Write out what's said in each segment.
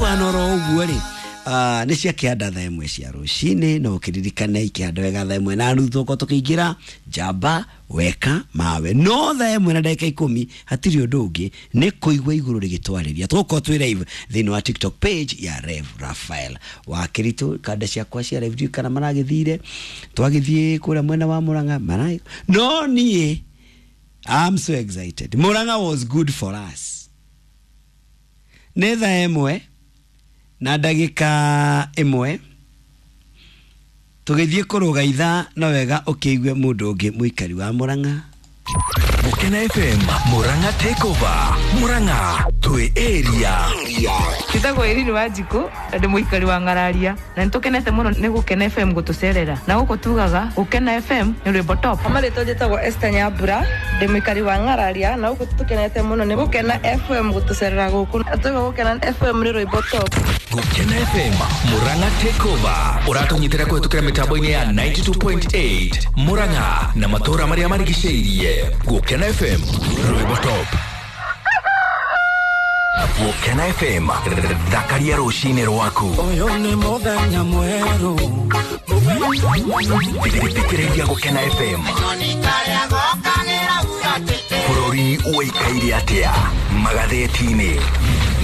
Gũkũhana oro ũguo rĩ, nĩ cia kĩanda thaa 1 cia rũcinĩ, no ũkĩririkane ikĩhanda wega thaa 1:30 tũkorwo tũkĩingĩra njamba weka mawe, no thaa 1:10 hatirĩ ũndũ ũngĩ nĩ kũigua igũrũ rĩgĩtwarĩria. Tũgũkorwo twĩ live thĩinĩ wa TikTok page ya Rev Raphael wa Kĩritũ. Kanda ciakwa cia live ndiũĩ kana maragĩthire, twagĩthiĩ kũrĩa mwena wa Murang'a mara, no niĩ I'm so excited. Murang'a was good for us. Nĩ thaa 1:01 tũgĩthiĩ kũrũga ithaa, no wega ũkĩigue mũndũ ũngĩ mũikari wa Murang'a. Gukena FM Murang'a Takeover. Murang'a twi area. Njĩtagwo Irene Wanjikũ na ndĩ mũikari wa Ng'araria, na nĩtũkenete mũno nĩ Gũkena FM gũtũcerera, na gũkũ tugaga Gũkena FM nĩ rwĩmbo top. Marĩtwa njĩtagwo Esther Nyambura, ndĩ mũikari wa Ng'araria, na gũkũ tũkenete mũno nĩ Gũkena FM gũtũcerera gũkũ, na tuga Gũkena FM nĩ rwĩmbo top. Gukena FM Murang'a Takeover ũratũnyitĩra kũhetũkĩra mĩtambo-inĩ ya 92.8 Murang'a na matũũra marĩa marigicĩirie. Gukena FM rwĩmbo top. Gukena FM thakaria rũcinĩ rwaku. Ũyũ nĩ mũthenya mwerũ. Thikĩrĩria Gukena FM. Bũrũri ũikaire atĩa magathĩti-inĩ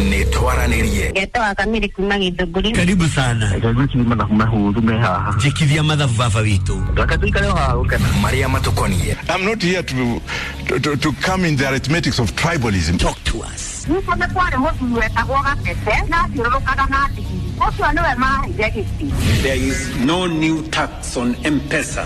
nĩ twaranĩrie. Ngetwa Kamiri kuma Githũngũri. Karibu sana. Ngwĩciria mathabu mahũthũ me haha. Njĩkithia mathabu baba witũ. Reke tũikare o haha gũkena. Marĩa matũkoniĩ. I'm not here to come in the arithmetics of tribalism. Talk to us. Gwitũ nĩ kwarĩ mũthuri wetagwo Gatete na athiũrũrũkaga na ndigiri. Ũcio nĩwe maheire gĩtĩ. There is no new tax on M-Pesa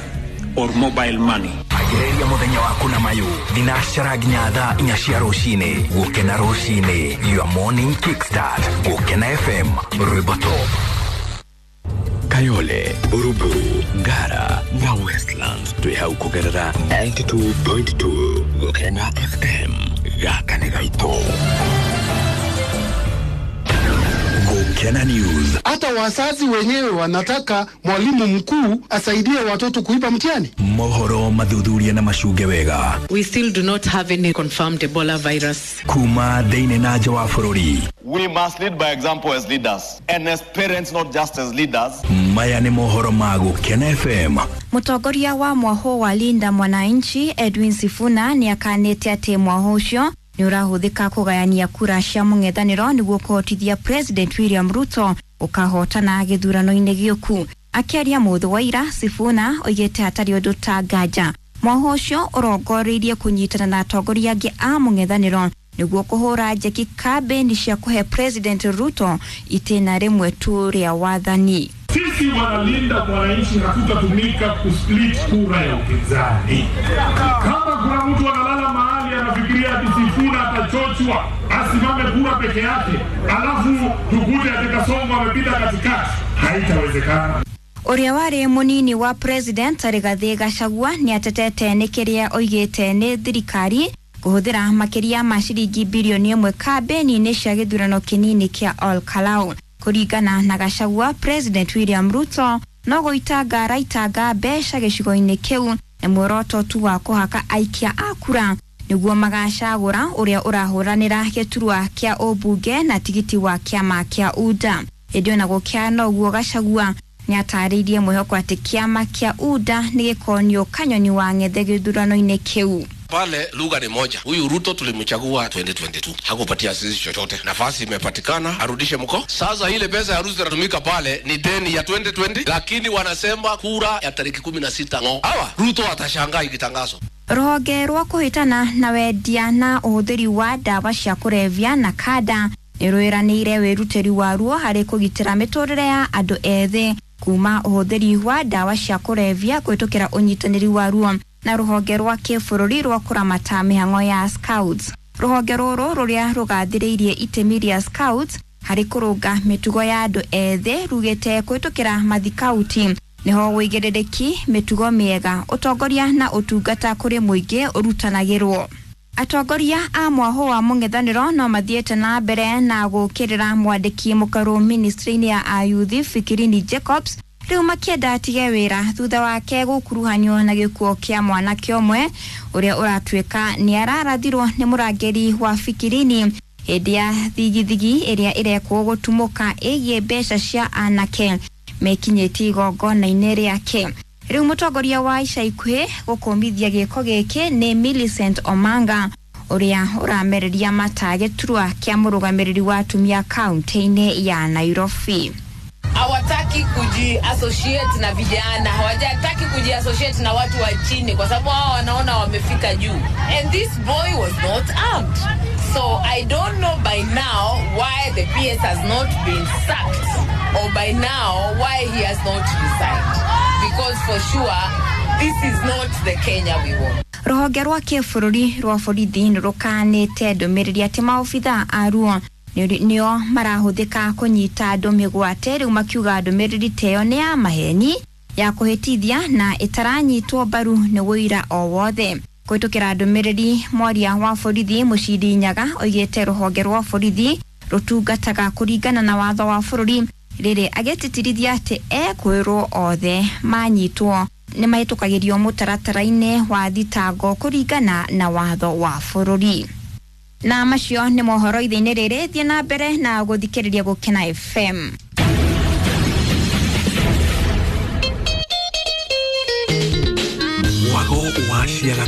or mobile money. Agĩrĩria mũthenya waku na mayũ thinacara nginya thaa 4 cia rũcinĩ. Gũkena rũcinĩ, your morning kickstart. Gũkena FM rwĩmbo top. Kayole, Buruburu, Ngara na Westlands twĩ hau kũgerera 92.2 Gũkena FM. Gaka nĩ gaitũ. Gũkena News. Hata wazazi wenyewe wanataka mwalimu mkuu asaidie watoto kuiba mtihani. Mohoro mathuthuria na macunge wega. We still do not have any confirmed Ebola virus. Kuma thĩinĩ na nja wa bũrũri. We must lead by example as leaders and as parents, not just as leaders. Maya nĩ mohoro ma Gũkena FM. Mũtongoria wa mwahũ wa Linda Mwananchi Edwin Sifuna nĩ akanĩte atĩ mwahũ ũcio nĩ ũrahũthĩka kũgayania kura cia mũng'ethanĩro nĩguo kũhotithia President William Ruto ũkahotana gĩthurano-inĩ gĩũku. Akĩaria mũthĩ wa ira, Sifuna oigĩte hatarĩ ũndũ ta nganja mwahũ ũcio ũrongoreirie kũnyitana na atongoria angĩ a mũng'ethanĩro nĩguo kũhũra njeki kambĩini cia kũhe President Ruto itĩna rĩmwe tu rĩa wathani. Sisi wanalinda mwananchi hatutatumika kusplit kura ya upinzani. Kama kuna mtu analala mahali anafikiria ati Sifuna atachochwa asimame kura peke yake, alafu tukute ati Kasongo amepita katikati, haitawezekana. Ũrĩa warĩ mũnini wa president Rigathĩ Gachagua nĩ atetete nĩ kĩrĩa oigĩte nĩ thirikari kũhũthĩra makĩria ma ciringi bilioni 1 kambĩini-inĩ cia gĩthurano kĩnini kĩa Ol Kalou. Kũringana na Gachagua, President William Ruto no gũitanga araitanga mbeca gĩcigo-inĩ kĩu na muoroto tu wa kũhaka aikia a kura nĩguo magacagũra ũrĩa ũrahũranĩra gĩturwa kĩa ũmbunge na tigiti wa kĩama kĩa UDA. Ĩndĩ ona gũkĩhana ũguo, Gachagua nĩ atarĩirie mwĩhoko atĩ kĩama kĩa UDA nĩ gĩkonio kanyoni wa ng'ethe gĩthurano-inĩ kĩu. Pale lugha ni moja. Huyu Ruto tulimchagua 2022, hakupatia sisi chochote. Nafasi imepatikana, arudishe mko. Sasa ile pesa ya Ruto inatumika pale ni deni ya 2020, lakini wanasema kura ya tariki 16 ng'o. Hawa Ruto atashangaa ikitangazwa. Rũhonge rwa kũhĩtana na wendia na ũhũthĩri wa ndawa cia kũrebia na kanda nĩ rwĩranĩire wĩrutĩri waruo harĩ kũgitĩra mĩtũrĩre ya andũ ethĩ kuma ũhũthĩri wa ndawa cia kũrebia kũhĩtũkĩra ũnyitanĩri waruo na rũhonge rwa kĩbũrũri rwa kũramata mĩhang'o ya Scouts. Rũhonge rũrũ rũrĩa rũgathĩrĩirie itemi rĩa Scouts harĩ kũrũnga mĩtugo ya andũ ethĩ rugĩte kũhĩtũkĩra mathikauti nĩho wĩigĩrĩrĩki, mĩtugo mĩega, ũtongoria na ũtungata kũrĩ mũingĩ ũrutanagĩrwo. Atongoria a mwahũ wa mũng'ethanĩro no mathiĩte na mbere na gũkĩrĩra mwandĩki mũkarũ ministry-inĩ ya ayuthi Fikirini Jacobs rĩu makĩenda atige wĩra thutha wake gũkuruhanio na gĩkuũ kĩa mwanake ũmwe ũrĩa ũratuĩka nĩ ararathirwo nĩ mũrangĩri wa Fikirini Hĩndĩ ya thigithigi ĩrĩa ĩrekwo gũtumũka ĩgiĩ mbeca cia anake mekinyĩtie igongona-inĩ rĩake. Rĩu mũtongoria wa ica ikuhĩ gũkũmithia gĩko gĩkĩ nĩ Millicent Omanga, ũrĩa ũramereria mata gĩturwa kĩa mũrũgamĩrĩri wa atumia kaunti-inĩ ya Nairobi. Hawataki kujiassociate na vijana, hawajataki kujiassociate na watu wa chini, kwa sababu hao wanaona wamefika juu. And this boy was not armed, so I don't know by now why the PS has not been sacked, or by now why he has not resigned, because for sure this is not the Kenya we want. Rũhonge rwa kĩbũrũri rwa borithi nĩ rũkanĩte ndũmĩrĩri atĩ maobithaa aruo nĩo marahũthĩka kũnyita andũ mĩgwate, rĩu makiuga ndũmĩrĩri ta ĩyo nĩ ya maheni, ya kũhĩtithia na ĩtaranyitwo mbaru nĩ wũira o wothe. Kũhĩtũkĩra ndũmĩrĩri, mwaria wa borithi Mũcindi Nyaga oigĩte rũhonge rwa borithi rũtungataga kũringana na watho wa bũrũri, rĩrĩ agĩtĩtĩrithia atĩ ekwĩrwo othe manyitwo nĩ mahĩtũkagĩrio mũtaratara-inĩ wa thitango kũringana na watho wa bũrũri. Na macio nĩ mohoro ithe-inĩ rĩrĩ, thiĩ na mbere na gũthikĩrĩria Gũkena FM. Wago wa ciaga.